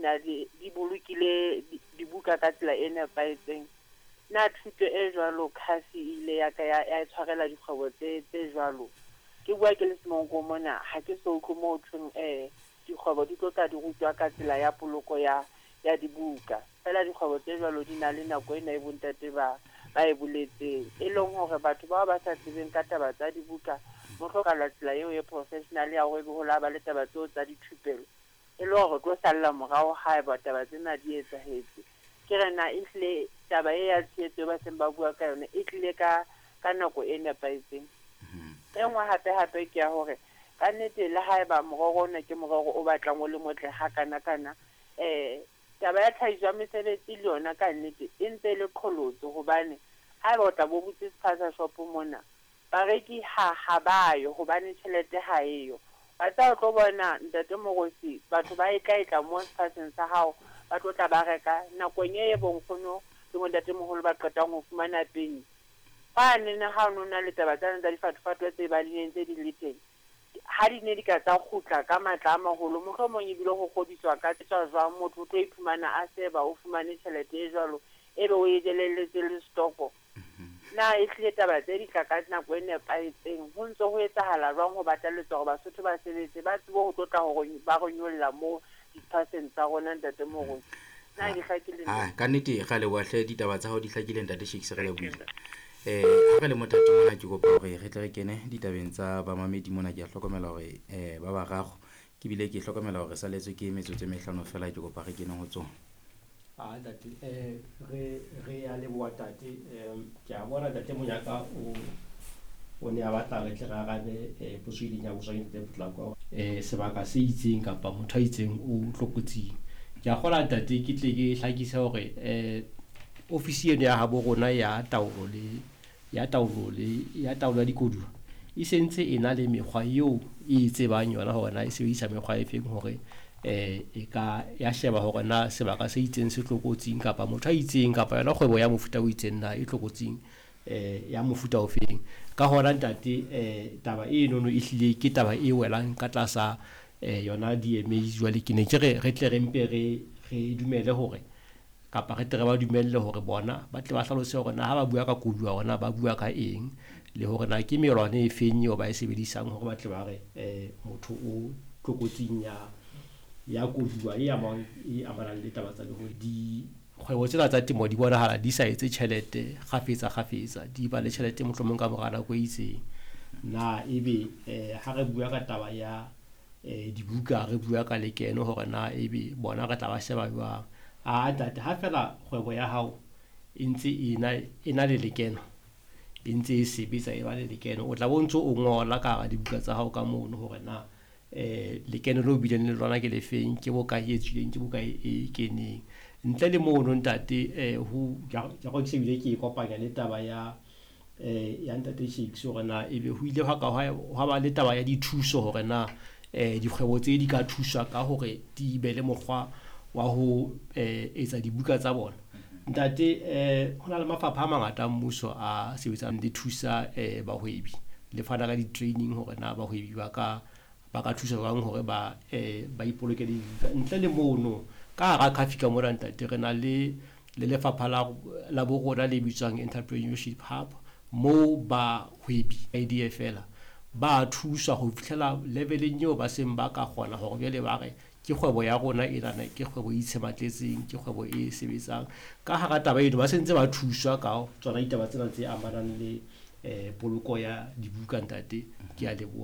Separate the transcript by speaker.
Speaker 1: na di bolokile dibuka ka tsela e nepahetseng. Na thuto e jwalo CAF e ile ya ka ya tshwarela dikgwebo tse jwalo? Ke bua ke le Semonkong mona, ha ke so utlwe moo thweng dikgwebo di tlo tla di rutwa ka tsela ya poloko ya dibuka. Feela dikgwebo tse jwalo di na le nako ena e bontate ba e boletseng, e leng hore batho bao ba sa tsebeng ka taba tsa dibuka, mo hlokahala tsela eo e professional ya hore ebe ho la ba le taba tseo tsa dithupelo, e le hore tlo salla morao haeba taba tsena di etsahetse. Ke re na ehlile taba e ya tshehetso e ba seng ba bua ka yona e tlile ka nako e nepahetseng? E nngwe hape hape ke ya hore kannete le haeba morero ona ke morero o batlang o le motle hakana-kana, taba ya tlhahiso ya mesebetsi le yona kannete e ntse e le qholotso, hobane haeba o tla bo butse spaza shop mona, bareki ha ba yo hobane tjhelete ha eyo. Wa tseba o tlo bona, Ntate Moruti, batho ba e tla etla mo sephatseng sa hao, ba tlo tla ba reka nakong e bonkgono le bontatemoholo ba qetang ho fumana peni. Kwanene ha o no na le taba tsane tsa difatofatoe tse ba di entse di le teng, ha di ne di ka tsa kgutla ka matla a maholo, mohlomong ebile ho kgodiswa ka tswa jwang, motho o tlo iphumana a seba o fumane tjhelete e jwalo, ebe o e jelelletse le stoko. Na ehlile taba tse di tla ka nako e nepahetseng? Ho ntso ho etsahala jwang ho bataletswa hore Basotho ba sebetse, ba tsebe ho tlotla hore ba re nyolla mo di-percent tsa rona, Ntate Moruti? Na di hlakile?
Speaker 2: Ah, ka nnete ra leboha hle, ditaba tsa hao di hlakile, Ntate Shakes, re lebohile. Ha re le mothating mona, ke kopa hore re tle re kene ditabeng tsa bamamedi mona. Ke a hlokomela hore ba bararo, ke bile ke hlokomela hore saletswe ke metsotso e mehlano fela, ke kopa re kene ho tsona.
Speaker 3: Ah, ntate, re ya leboha, tate. Ke a bona ntate Monyaka o ne a batla re tle re arabe potso e ileng ya botswa ke ntate Potlako, sebaka se itseng kapa motho a itseng o tlokotsing. Ke a kgola, ntate, ke tle ke hlakise hore ofisi eno ya habo rona ya taolo ya dikoduwa e sentse e na le mekgwa eo e tsebang yona hore na e sebedisa mekgwa e feng hore e ka ya sheba hore na sebaka se itseng se tlokotsing kapa motho a itseng kapa yona kgwebo ya mofuta o itseng na e tlokotsing ya mofuta o feng. Ka hona, ntate, taba enono e hlile ke taba e welang ka tlasa yona DMA. Jwale ke ne ke re re tle re mpe re dumele hore kapa re tle re ba dumelle hore bona ba tle ba hlalose hore na ha ba bua ka koduwa hore na ba bua ka eng, le hore na ke melwana e feng eo ba e sebedisang hore ba tle ba re motho o tlokotsing ya koduwa e amang e amanang le taba tsa lehodimo. Dikgwebo tsena tsa temo di bonahala di sa etse tjhelete kgafetsa kgafetsa, di ba le tjhelete mohlomong ka mora nako e itseng. Na ebe ha re bua ka taba ya dibuka, re bua ka lekeno, hore na ebe bona re tla ba sheba jwang? A ntate, ha fela kgwebo ya hao e ntse e na le lekeno, e ntse e sebetsa, e ba le lekeno, o tla bo ntso o ngola ka hara dibuka tsa hao ka mono hore na lekeno leo bileng le lona ke lefeng, ke bokae e tswileng, ke bokae e keneng. Ntle le mono, ntate, ho ke se bile ke e kopanya le taba ya ntate Shakes hore na ebe ho ile hwa ka hwa ba le taba ya dithuso, hore na dikgwebo tse di ka thuswa ka hore di be le mokgwa wa ho etsa dibuka tsa bona. Ntate, ho na le mafapha a mangata a mmuso a sebetsang le thusa bahwebi, le fana ka di-training hore na bahwebi ba ka thusa jwang hore ba ipolokele dibuka. Ntle le mono, ka hara CAFI ka mona, ntate, re na le lefapha la borona le bitswang Entrepreneurship Hub, moo bahwebi idea fela ba thuswa ho fihlela leveleng eo ba seng ba ka kgona hore jwale ba re ke kgwebo ya rona enana, ke kgwebo e itshematletseng, ke kgwebo e sebetsang. Ka hara taba eno ba sentse ba thuswa ka tsona ditaba tsena tse amanang le poloko ya dibuka. Ntate, ke a leboha.